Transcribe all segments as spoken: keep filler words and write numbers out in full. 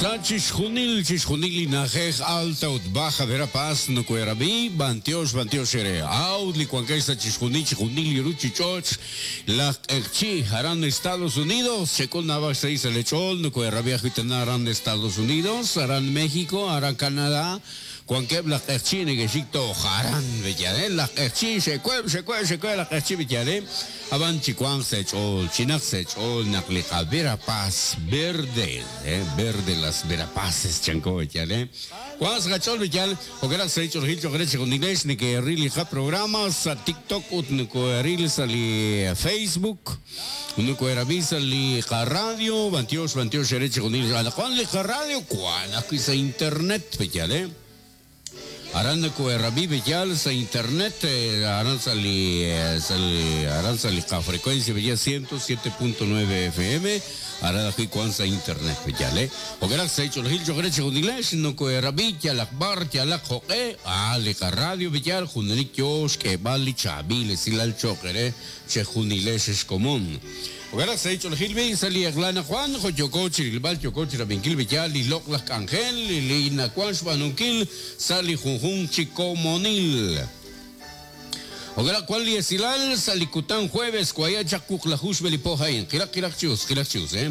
Sa chixjunil chixjunil li na'ajej Alta ut Baja Verapaz nokoherab'i b'antiox b'antiox eere aw li wankex sa chixjunil chixjunil li ruuchich'och' laj q'eqchi' aran Estados Unidos xek'ul naab'al xsahil sa' lech'ool nokoherab'i ajwi' tana aran Estados Unidos aran México aran Canadá wankeb' laj q'eqchi' neke'xik toj aran b'eyal laj q'eqchi' xe'kueb' xe'kueb' xe'kueb' laj q'eqchi' b'eyal ab'an chiwanq sa' ch'ool chinaq sa' ch'ool naq li qa Verapaz verde eh, verde las Verapaces chanko b'eyal eh Wanq sa' qach'ool b'eyal jo'kan sa' ch'oolejil cho'q re chixjunilex neke'ril li qaprograma sa' TikTok ut nokoheril sa' li Facebook nokoherab'i sa' li qaradio b'antiox b'antiox ere chixjunil anaqwan li qaradio wan ajwi' sa' internet b'eyal eh Aran nokoherab'i b'eyal sa' internet eh, aran sa' li eh, sa' li aran sa' li qafrecuencia b'eyal ciento siete punto nueve F M aran ajwi' wan sa' internet b'eyal eh jo'kan sa' ch'oolejil cho'q re chixjunilex nokoherab'i yalaq bar yalaq jo'q'e ah li qaradio b'eyal junelik yo xk'eeb'al li chaab'il esilal cho'q re chejunilex xkomon. Jo'kan sa' ch'oolejil bi sa' li eq'la Juan jo yoko chirilb'al yoko chirab'inkil b'eyal li loq' laj k'anjel li nawan xb'aanunkil sa' li junjun chi komonil. Jo'kan wan li esilal sa' li kutan jueves kuaya chaq wuqlaju xb'e li po ha'in qilaq qilaq chius qilaq chius eh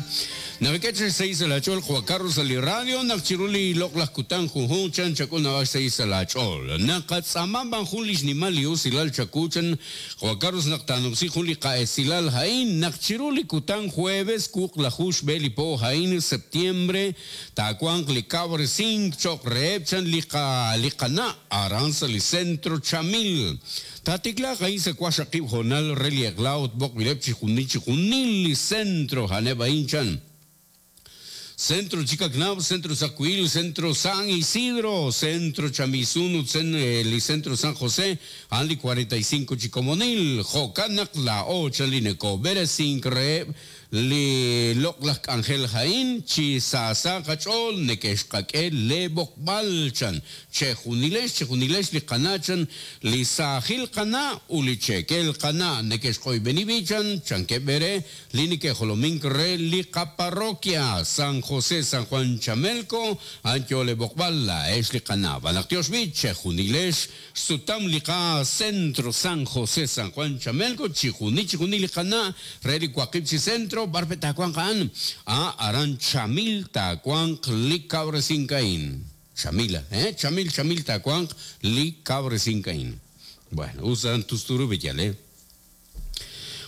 naqak'e xsahil sa' laach'ool Juan Carlos sa' li radio naq chiru li loq' laj kutan junjun chan chak'ul naab'al xsahil sa' laach'ool naqatz'aama b'an jun li xnimal li usilal chaku chan Juan Carlos naq taanumsi jun li qa'esilal ha'in naq chiru li kutan jueves wuqlaju xb'e li po ha'in septiembre taawanq li kab'resink cho'q reheb' chan li qa li qana' aran sa' li centro Chamil Tatiklaq ahí sa waqxaqib' honal re li eq'la ut b'oqb'ileb' chixjunil chixjunil li centro haneb' ahin chan Centro Chicacnab, Centro Zacuil, Centro San Isidro, Centro Chamizun, li Centro San José, Anli cuarenta y cinco Chicomonil, Jocanak, La Ocha, Lineco, Beresink, Reb, li loq' laj k'anjel ha'in, chi saasa qach'ool, neke'xqak'e le b'oqb'al chan, chejunilex, chejunilex li qana' chan, li saajil qana' u li chekel qana', neke'xq'oyb'eni b'i chan, chankeb' b'ere, li neke'jolomink re li qaparroquia, San José, San Juan Chamelco, anyo le b'oqb'al, la ex li qana', b'anaq tiox b'i, chejunilex, sutam li qa Centro San José, San Juan Chamelco, chijuni, chijuni li qana', re li waqib' chi centro, barpe takuan kaan, a aran Chamil takuan li kabresinkain. Chamila, eh? Chamil, Chamil takuan li kabresinkain. Bueno, usan tusturu bellale.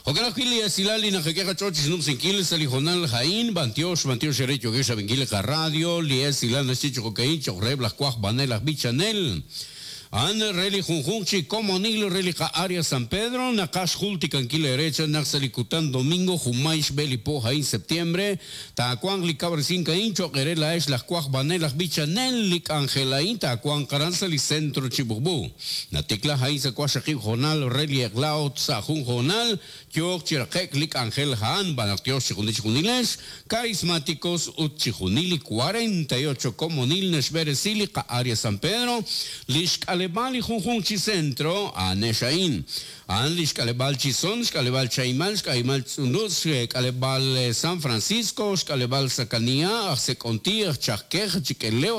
Jo'kan ajwi' li esilal li naqak'e qach'ool chi xnumsinkil sa' li jonal ha'in, b'antiox, b'antiox ere yokex ab'inkil li qaradio, li esilal naxye cho'qokain cho'q reheb' laj waj b'anel laj b'ichanel. An re li junjun chi komonil re li qa área San Pedro, naqax jultikankil ere chan naq sa' li kutan domingo jumay xb'e li po ha'in septiembre, taawanq li kab'resinkain cho'q ere la'ex laj waj b'anel laj b'ichanel li k'anjel ha'in taawanq aran sa' li centro Chibukbu. Natikla ha'in sa' waqxaqib' jonal re li eq'la ut sa' jun jonal yooq chi raqe'k li k'anjel ha'an b'anaq tiox chijunil chijunilex, carismáticos ut chijunil li cuarenta y ocho komonil naxb'eresi li qa área San Pedro, li xk'aleb'al li junjun chi centro anexain. An li xk'aleb'al Chizón, xk'aleb'al Chaimal, xk'aleb'al Tz'unutz, xk'aleb'al San Francisco, xk'aleb'al Sacanía, aj Sekonti, aj Chajkej, Chikeleo,